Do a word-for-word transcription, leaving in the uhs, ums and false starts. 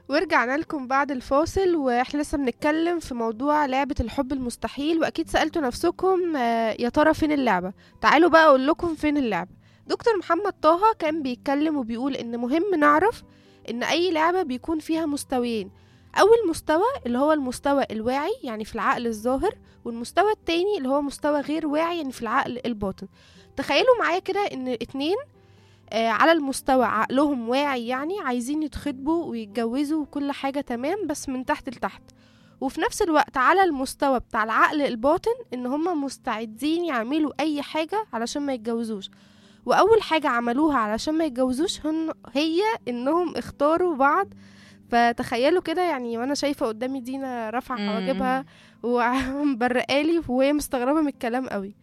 ورجعنا لكم بعد الفاصل، واحنا لسه بنتكلم في موضوع لعبة الحب المستحيل. واكيد سألتوا نفسكم آه، يا ترى فين اللعبة؟ تعالوا بقى اقول لكم فين اللعبة. دكتور محمد طه كان بيتكلم وبيقول ان مهم نعرف ان اي لعبة بيكون فيها مستويين. اول مستوى اللي هو المستوى الواعي يعني في العقل الظاهر، والمستوى التاني اللي هو مستوى غير واعي يعني في العقل الباطن. تخيلوا معايا كده ان اتنين آه، على المستوى عقلهم واعي، يعني عايزين يتخطبوا ويتجوزوا وكل حاجة تمام بس من تحت لتحت. وفي نفس الوقت على المستوى بتاع العقل الباطن ان هما مستعدين يعملوا اي حاجة علشان ما يتجوزوش. واول حاجة عملوها علشان ما يتجوزوش هن هي انهم اختاروا بعض. فتخيلوا كده يعني، وانا شايفة قدامي دينا رافعة امم حواجبها ومبرقالي وهي مستغربة من الكلام قوي.